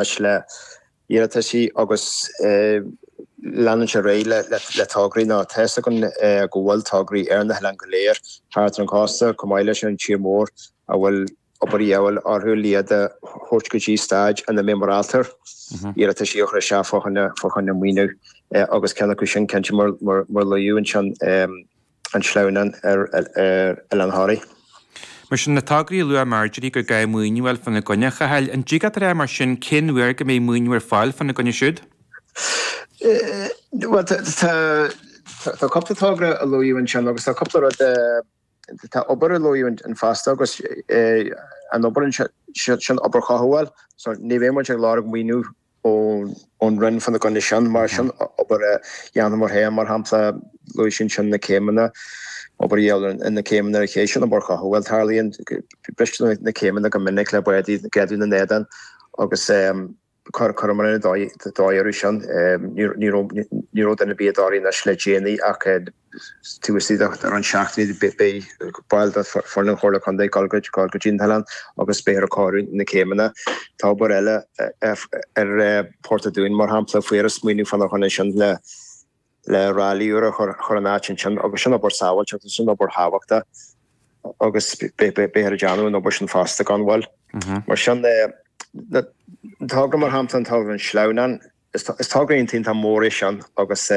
anois le hiarrataisí agus leanann sé ar aghaidh le tograí nó tá fhios againn go bhfuil tograí ar na hoileáin go léir thart ar an chósta chomh maith leis an tír mór a bhfuil obair a dhíobháil orthu le iad a thabhairt go dtí staid ina mbeidh muid ábalta iarrataisí a chur isteach fá choinne fá choinne maoiniú agus ceann acu sin cinnte mar mar luadh ansin an sleamhnán ar Oileán Thoraí. Mar sin, na tograí a luaigh Marjorie gur gá maoiniú a fháil fána gcoinne, a Chathail, an dtig leat a rá mar sin cén uair go mbeidh maoiniú ar fáil fána gcoinne siúd? Bhuel, tá cúpla togra a luadh ansin agus tá cúpla rud, tá obair a luadh ann fosta agus an obair sin obair chothabháil so ní bheidh muid ag lorg maoiniú ón Roinn fána gcoinne sin, mar sin obair a dhéanamar féin, mar shampla, luaigh sí ansin na céimeanna, obair a dhéanamh ar na céimeanna ar an ché, sin obair chothabháil, tarlaíonn, bristear na céimeanna go minic le bádaí ag éadú na n-éadán agus chuireamar an dóigh orthu sin. Ní raibh duine ar bith i dToraigh anois le déanaí ach taobh istigh de roinnt seachtainí beidh baill de foireann an Chomhairle Contae ag dul go dtí an t-oileán agus beifear ag cóiriú na céimeanna. Tá obair eile ar Port a' Dúin mar shampla, fuarthas maoiniú fána choinne sin le le ráillí úr a chur in áit ansin agus sin obair sábháilteachta, sin obair thábhachtach agus beifear ag déanamh an obair sin fosta gan mhoill. Mar sin, an togra mar shampla, an togra an Sleamhnán, is togra iontach mór é sin agus.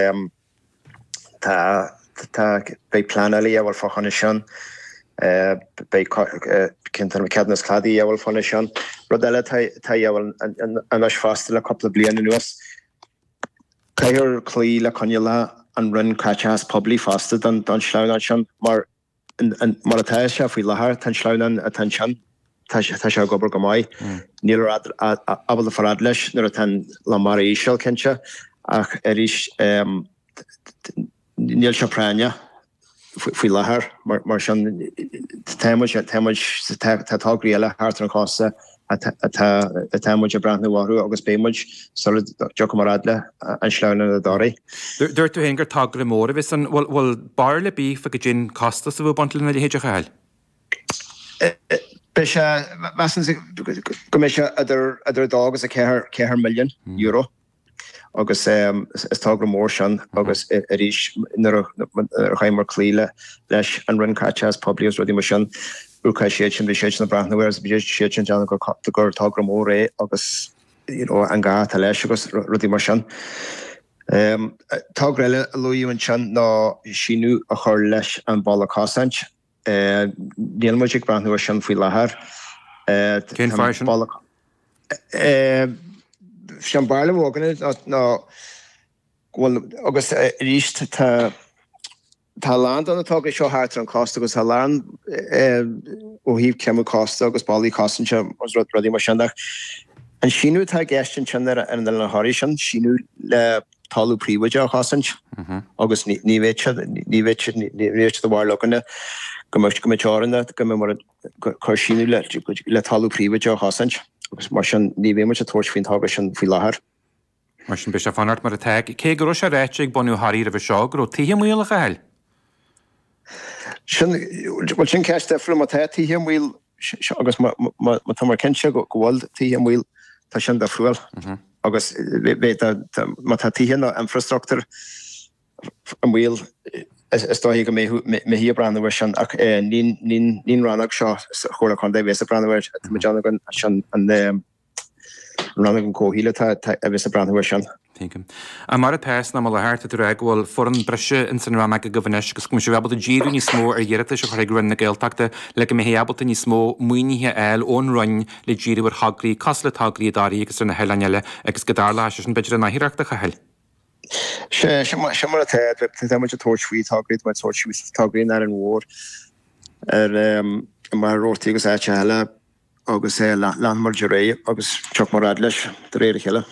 Tá, tá, beidh pleanáil a dhíobháil fá choinne sin, beidh ceadúnas cladaigh a dhíobháil fá choinne sin. Rud eile atá a dhíobháil anois fosta le cúpla bliain anuas, caithfear cloí le coinníollacha an Roinn Caiteachas Poiblí fosta don sleamhnán sin mar Mar atá sé faoi láthair, tá an sleamhnán atá ansin, tá sé ag obair go maith. Níl ábalta fáil fhad leis nuair atá an lá mara íseal, cinnte, ach arís níl sé práinneach faoi láthair. Mar sin, tá muid, tá muid, tá tograí eile thart ar an chósta atá muid ag breathnú orthu agus beidh muid sula dtiocfaimid fhad le an sleamhnán i dToraigh. Dúirt tú féin gur togra mór a bheas ann. Bhfuil barúil ar bith fá goidé an costas a bheadh ag baint lena leithéid, a Chathail? Beidh sé, measaim go mbeidh sé idir 2 agus 4 milliún euro. Agus is togra mór sin agus arís nuair a chaithfear cloí leis an Roinn Caiteachas Poiblí agus rudaí mar sin, úcáid siad sin, bhí siad sin ag breathnú air agus bhí siad sin ag déanamh gur togra mór é agus you know an gá atá leis agus rudaí mar sin. Togra eile a luadh ansin ná síneadh a chur leis an bhalla cosaint. Níl muid ag breathnú ar sin faoi láthair. Cén fáth sin? Sé an barúil atá againne ná go bhfuil, agus arís tá tá a lán de na tograí seo thart ar an chósta agus tá a lán ó thaobh creimeadh cósta agus ballaí cosanta agus rudaí mar sin ach an síneadh atá i gceist ansin ar an Oileán Thoraí sin síneadh le talamh príobháideach a chosaint agus ní bheadh sé ní bheadh sé ní bheadh sé de bharúil againne go mbeadh go mbeadh teorainn go mbeadh muid ag cur síneadh le le talamh príobháideach a chosaint agus mar sin ní bheidh muid ag tabhairt faoin togra sin faoi láthair. Mar sin beidh sé ag fanacht mar atá, cé go raibh sé ráite ag bunadh Thoraí roimhe seo go raibh tithe i mbaol, a Chathail. Sin, bhuel sin ceist difriúil, má tá tithe i mbaol agus má tá muid cinnte go bhfuil tithe i mbaol, tá sin difriúil. Agus má tá tithe nó infrastruchtúr i mbaol, is dóichí go mbeifí ag breathnú air sin ach ní an rannóg seo sa Chomhairle Contae a bheas ag breathnú air, tá muid ann sin an Rannóg an Chomhshaoil atá a bheas ag breathnú air sin. Tuigim. Mar atá san am i láthair, tá tú ag rá go bhfuil foireann breise ins an rannóg agaibh anois agus go mbeidh sibh ábalta díriú níos mó ar iarratais a chur chuig Roinn na Gaeltachta le go mbeifí ábalta níos mó maoinithe a fháil ón Roinn le díriú ar thograí cosúil le tograí i dToraí agus ar na hoileáin eile agus go dtarlóidh sé sin b'fhéidir in oidhreacht a Chathail. Sea, sin mar atá. Tá muid ag tabhairt faoi tograí, tá muid ag tabhairt faoi tograí in Árainn Mhór, ar i Machaire Rabhartaigh agus áiteacha eile. agus leanfaidh muid ar aghaidh agus tiocfaidh muid fhad leis de réir a chéile.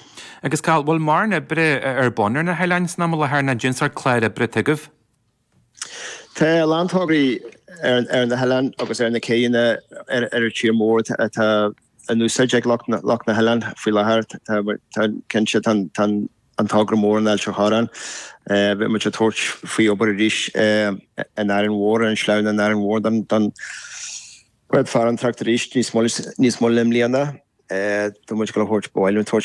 Agus Cathal, bhfuil mórán oibre ar bun ar na hoileáin san am i láthair nó cén sórt clár oibre atá agaibh? Tá a lán tograí ar na hoileáin agus ar na céidheanna ar an tír mór atá in úsáid ag lucht na n-oileán faoi láthair. Tá cinnte tá an togra mór in Ailt an Chorráin. Beidh muid ag tabhairt faoi obair arís in Árainn Mhór, ar an sleamhnán in Árainn Mhór don Bád farantóireachta arís níos moille níos moille i mbliana. Tá muid ag dul a thabhairt, ba mhaith linn tabhairt.